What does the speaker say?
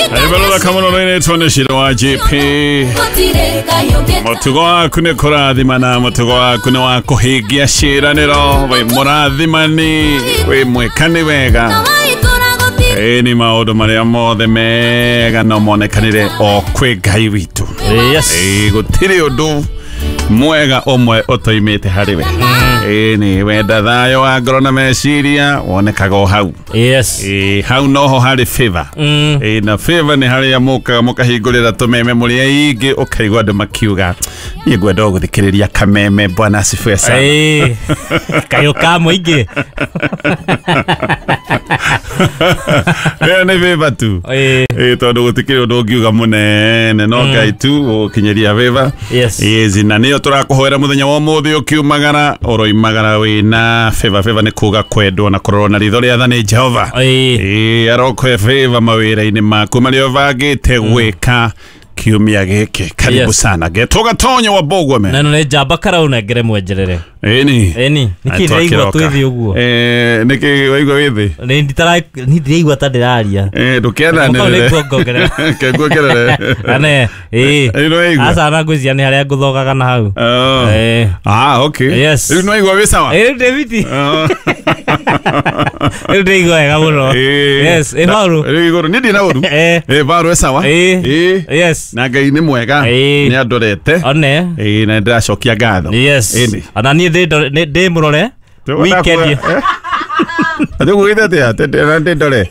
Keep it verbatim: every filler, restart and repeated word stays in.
Kamono nĩ wa J P mũtugo waku nĩ kũrathimana mũtugo waku nĩ wa kũhingia ciĩranĩro wĩ mũrathimani wĩ mwĩkani wega ĩĩ nĩ maũndũ marĩa mothe mega no monekanire o kwĩ Ngai witũ. Yes. Ĩĩ gũtirĩ ũndũ mwega ũmwe ũtoimĩte harĩ we. Ĩĩ nĩ wenda thayũ wa ngoro na meciria wonekaga o hau. Yes. Ĩĩ hau noho harĩ favor. Mm. Ĩĩ na favor nĩ harĩa mũkaga mũkahingũrĩra tũmeme mũrĩ aingĩ ũkaigua andũ makiuga niĩ ngwenda o gũthikĩrĩria kameme bwana asifiwe sana. Ĩĩ. Kayũ ka mũingĩ. Ĩyo nĩ favor tu. Ĩĩ. Ĩĩ tondũ gũtikĩrĩ ũndũ ũngiuga mũnene no Ngai tu ũgũkinyĩria favor. Yes. Ĩĩ na nĩyo tũrakũhoera mũthenya wa ũmũthĩ ũkiumagara ũroimagara wĩna favor. Favor nĩ kuga kwendwo na kũrorwo na ritho rĩa tha nĩ Jehova. Ĩĩ. Ĩĩ arokwe favor mawĩra-inĩ maku marĩa ũbangĩte gwĩka kiumia gĩkĩ. Karibu Yes. sana getwo Gatonyo wa Bogwame. Na ĩno nĩ njamba karaunengere mwenjerere. Ĩni. Ĩni. Nĩkĩ ndĩraigua twĩ thĩ ũguo? Eh nĩkĩ waigua wĩ thĩ? Nĩ nditara nĩ ndĩraigua ta ndĩraria. Eh ndũkĩendanĩrĩre. Mũkau nĩ nguongerera. Ke nguongerere. Ane, ĩĩ. Ĩĩ nĩ waigua? Aca na ngwĩciria nĩ harĩa ngũthogaga na hau. Oh. Ĩĩ. Ah, okay. Yes. Rĩu nĩ waigua wĩ sawa? Ĩĩ rĩu ndĩ fiti. Oh. Rĩu ndĩraigua wega mũno. Ĩĩ. Yes, ĩ Paũlũ. Rĩu igũrũ niĩ ndina ũru. Eh. Ĩĩ Paũlũ e sawa? Ĩĩ. Ĩĩ. Yes. Na Ngai nĩ mwega. Ĩĩ. Nĩ andorete. One. Ĩĩ na ndĩracokia ngatho. Yes. Ĩni. Ona niĩ ndĩ ndĩ mũrore. Weekend. Atĩ ũgũgĩte atĩa? Atĩ ndĩ ndore.